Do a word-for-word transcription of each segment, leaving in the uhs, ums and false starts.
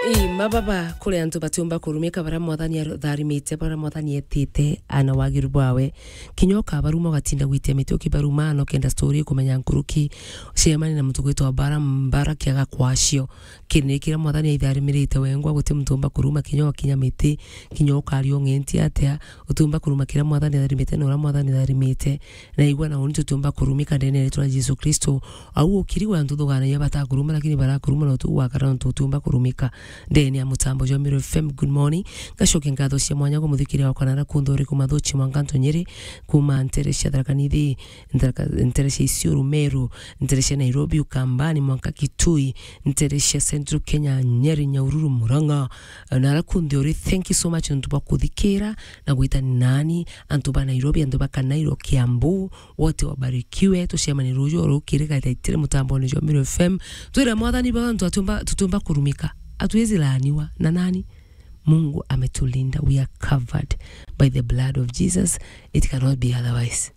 Ii, mababa, kuri antu batiumba kurumika baria Mwathani atharimite, baria Mwathani etite, ana wagiru bwawe. Kinya ukabaruma, ugatinda gwitia miti ukibaruma, na ukenda story ikumenya nkuruki, ucemanie na muntu gwitwa Mbara, Mbara kiaga kwacio. Kiri ni kiria Mwathani aitharimirite wengwa, guti muntu umba kuruma, kinya ukinya miti, kinya ukaria ung'enti atia, utiumba kuruma kiria Mwathani atharimite na uria Mwathani atharimite. Na igua na uni tutiumba kurumika ndene ya ritwa ria Jesu Kristo. Au ukiri gwa antu thugaanagia batakuruma, lakini barakuruma na utu gwakara nontu utiumba kurumika. Ndene ya mutambo jwa Meru F M, good morning. Ngacokia nkatho cia mwanya kwa muthikiria wakwa na ara kunthe uri kuma Thuchi, Mwanganto, Nyeri, kuma ntere cia Tharaka Nithi, ntere cia Isiolo, Meru, ntere cia Nairobi, Ukambani, mwanka Kitui, ntere cia Central Kenya, Nyeri, Nyahururu, Murang'a, na ara kunthe uri. Thank you so much nontu bwa kuthikira na gwita nani, antu ba Nairobi, antu ba Kanairo, Kiambu, wote wabarikiwe. Tucemanie ruju rukiri gathaitire mutambone jwa Meru F M. Twira Mwathani baba, antu atiumba, tutiumba kurumika. Hatuwezi laaniwa na nani? Mungu ametulinda. We are covered by the blood of Jesus. It cannot be otherwise.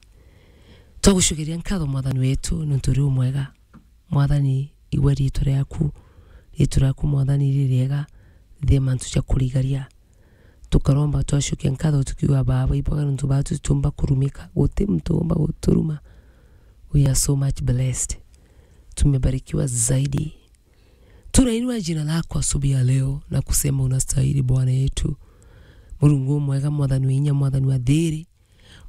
Twagucokeria nkatho Mwathani wetu nontu uri umwega. Mwathani, igua riitwa riaku. Riitwa riaku, Mwathani, ririega, thie mantu ja kurigaria. Tukaromba twacokia nkatho tukiuga, Baba, ibwaga nontu batu tutiumba kurumika, guti muntu umba guturuma. We are so much blessed. Tumebarikiwa zaidi. Tunainua jina lako asubuhi ya leo na kusema unastahili, Bwana yetu. Murungu umwega, Mwathani wa inya, Mwathani wa thiri.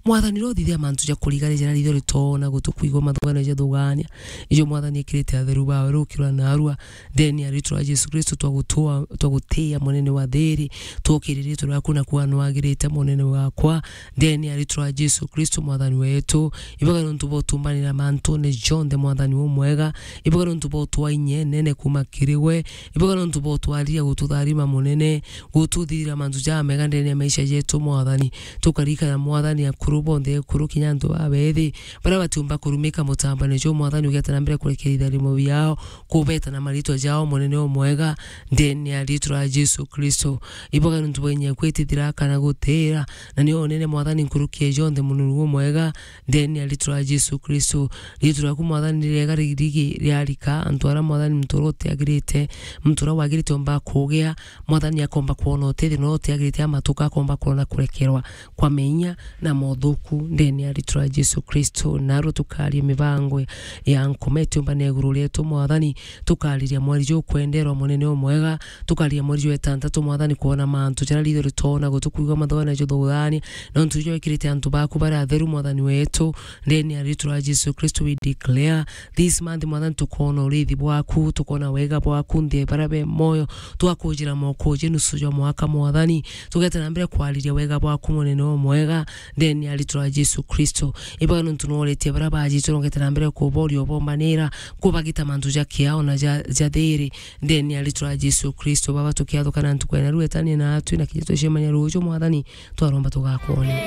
Mwathani, rothithia mantu ja kurigania jara ritho ritoona gutukwigua mathugano ja thugania. Ijo Mwathani ekirite atheru bawe rukirwa narua. Ndene ya ritwa ria Jesu Kristo twagutua, twagutia munene wa thiri. Twokiririe turaku na kuwa nwagirite munene wakwa. Ndene ya ritwa ria Jesu Kristo Mwathani wetu. Ibaga nontu botumbanira mantune jonthe Mwathani umwega. Ibaga nontu botwa inye nene kuma kiri we. Ibaga nontu botwariria gututharima munene. Gututhithira mantu jamega ndene ya maisha jetu Mwathani. Tukarikana Mwathani akuru bonthe, akuru kinya antu babethi, baria batiumba kurumika mutambane jo Mwathani, ugeta na mbere kurekeria itharimo biao, kubeta na maritwa jao munene umwega, ndene ya ritwa ria Jesu Kristo. Ibaga nontu bwa inya kwitithira kana gutira, na nio unene Mwathani nkuruki ya jonthe munene umwega, ndene ya ritwa ria Jesu Kristo. Ritwa riaku Mwathani ni riega ririgi riarika, antu aria Mwathani muntu uria utiagirite, muntu uria wagirite omba kugia, Mwathani akomba kwona utethio, na utiagirite amatuka akomba kwona kurekerwa kwa menya na mothuku ndene ya ritwa ria Jesu Kristo. Narua tukaria mibango ya nkoma itiumbane iguru rietu Mwathani, tukariria mweri jukwenderwa munene umwega, tukariria mweri jwa itantatu Mwathani kwona mantu jaria ritho ritoona gutukwigua mathugano ja thugania, nontu ijo wikirite antu baku baria atheru Mwathani wetu, ndene ya ritwa ria Jesu Kristo we declare this month, Mwathani, tukoona urithi bwaku, tukoona wega bwaku nthi ya baria be moyo. Twakujira mokuji nusu jwa mwaka, Mwathani, tugete na mbere kwariria wega bwaku munene umwega, ndene ya ritwa ria Jesu Kristo. Ibaga nontu noretie baria bajitwe, nogete na mbere kuboria, ubombanira, kubagita mantu ja kiao na ja, ja thiri, ndene ya ritwa ria Jesu Kristo. Baba, tukiathukana ntuku ya narua, etania natwi na kinya tucemania ruju, Mwathani, twaromba tugakwone.